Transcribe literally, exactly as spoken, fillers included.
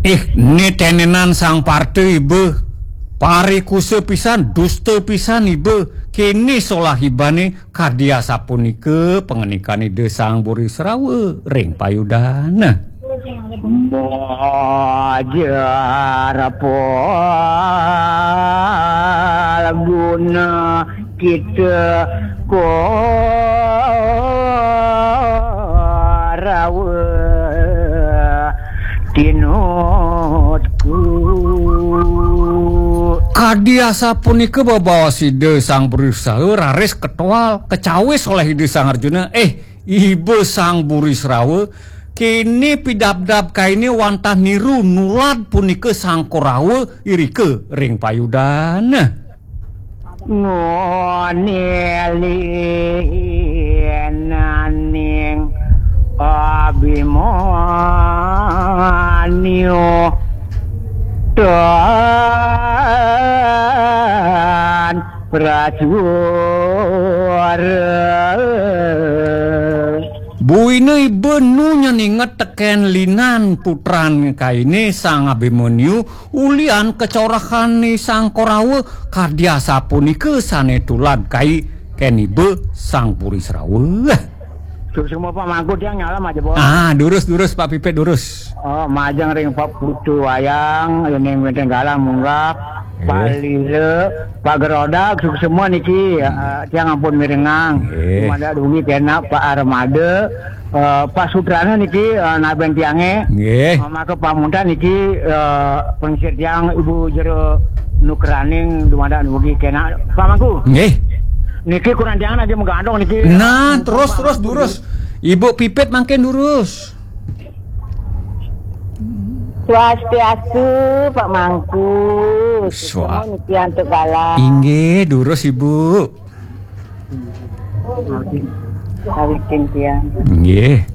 Ih, né tenenan Sang Parta iba. Parikusa pisan, dusta pisan iba. Kéné solah ibané, kadi asapunika pangandikan Ida Sang Burisrawa ring payudana. Mojar palguna kita Korawa tinutku. Kadi asapunika bebaos Ida Sang Burisrawa raris ketoal, kacawis olih Ida Sang Arjuna, "Eh, Iba Sang Burisrawa, kéné pidabdab kainé wantah niru nulad punika Sang Korawa irika ring payudana." Ngoné linaning Abimanyu tan prajwara. Buina iba nu nyen inget tekén linan putran kainé Sang Abimanyu, ulian kacorahan ni Sang Korawa, kadi asapunika sané tulad kai kén iba Sang Burisrawa. Suksma Pak Mangku, tiang nyalam aja, Bos. Ah, durus, durus, Pak Pipit, durus. Oh, majeng ring Pak Putu Wayang, ring wénten galang munggah, Pak Lila, Pak Gerodak, suksma niki, eh, tiang ampun mirengang. Nggih. Dumadak dugi kénak Pak Armada, eh, Pak Sutrana niki, eh, nabén tiangé. Nggih. Eh, maka pamuntan niki, eh, pengsir tiang Ibu Jero Nukraning dumadak dugi kénak Pak Mangku. Nggih. Niki kurang tiang lagi menggandong niki. Nah, terus, terus, durus. Ibu Pipit mangkin durus. Swastiastu, Pak Mangku. Swa- Semua niki antuk galang. Inggih, durus, Ibu. Sawikin tiang. Nggih.